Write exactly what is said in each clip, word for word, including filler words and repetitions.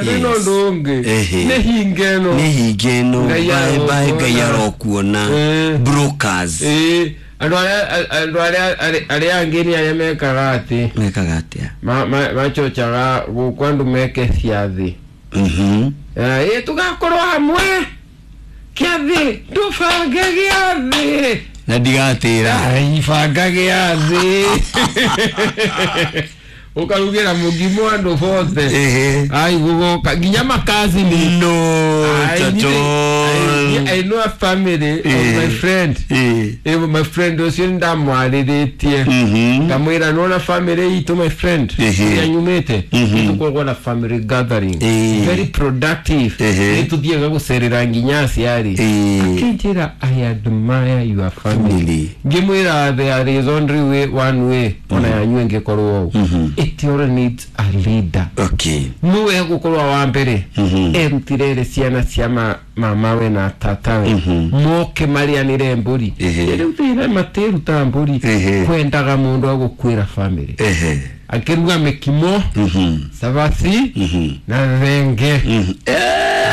Ndĩ no ũndũ ũngĩ. Ehe. Nĩ hinge ĩno. Nĩ hinge ĩno. Ngai Bye bye. Ngai arokuona. Arokuona. Eh. Brokers. Ĩĩ, andũ arĩa andũ arĩa arĩa angĩ nĩ arĩa mekaga atĩ Mekaga atĩa? ma- ma- macocaga gũkũ andũ meke ciathĩ. Mhm. Ĩ, tũgakorwo hamwe kĩathĩ, ndũbange gĩathĩ. Na ndigatĩra. Ai, banga gĩathĩ, ũkarugĩra mũgimo andũ bothe. Ehe. Ai, gũgoka nginya makazini. No. I, Tato. I know a family of Eh. my friend. Eh. Eh, my friend ũcio nĩndamwarĩrĩtie, Mhm. ngamwĩra, nona family itũ, my friend, Ehe. ĩrĩa nyumĩte, Mhm. nĩtũkoragwo na family gathering, Eh. very productive. Ehe. Nĩtũthiaga gũcerera nginya aciari. Eh. Akĩnjĩra, "I admire your family." Family. Ngĩmwĩra, there is only way, one way, ona yanyu ĩngĩkorwo ũũ. Mhm. It all needs a leader. Okay. Nĩwe gũkorwo wa mbere Mhm. erutire rĩ ciana cia ma- mamawe na tatawe Mhm. moke marĩanĩre mbũri. Ehe. Rĩu thĩna matĩruta mbũri. Ehe. Kwendaga mũndũ agũkuĩra family Ehe. akĩruga mĩkimo, Mhm. cabaci Mhm. na thenge. Mhm. Eh.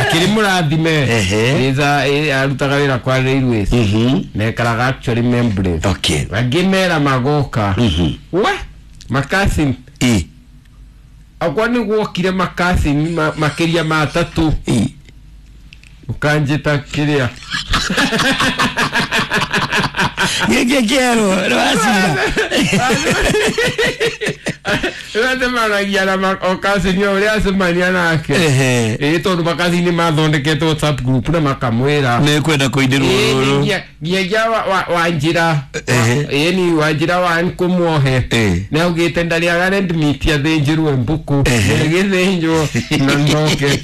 Akĩrĩ mũrathime. Ehe. Ĩza- ĩ- arutaga wĩra kwa railways Mhm. nekaraga actually membrane. Okay. Angĩ mera magoka. Mhm. We makasin Eh. akwa nĩ gwokire makasini ma- makĩria ma atatũ. Eh. Ũkanjĩta kĩrĩa. Gĩkĩ kĩerũ rwacira. Acemanagia na ma- o kasini o ũrĩa acemania nake. Ehe. Ĩ, tondũ makasini mathondekete WhatsApp group na makamwĩra Nĩkwenda kũindĩrwo Ĩ, rũrũ. nginya- nginyagia wa- wa- wanjĩra. Ehe. Ĩni wanjĩra wa nkũmuohe. Eh. Nĩ augĩte ndarĩaga red meat, athĩnjĩrwo mbũkũ. Ehe. Ĩgĩthĩnjwo na ndoke.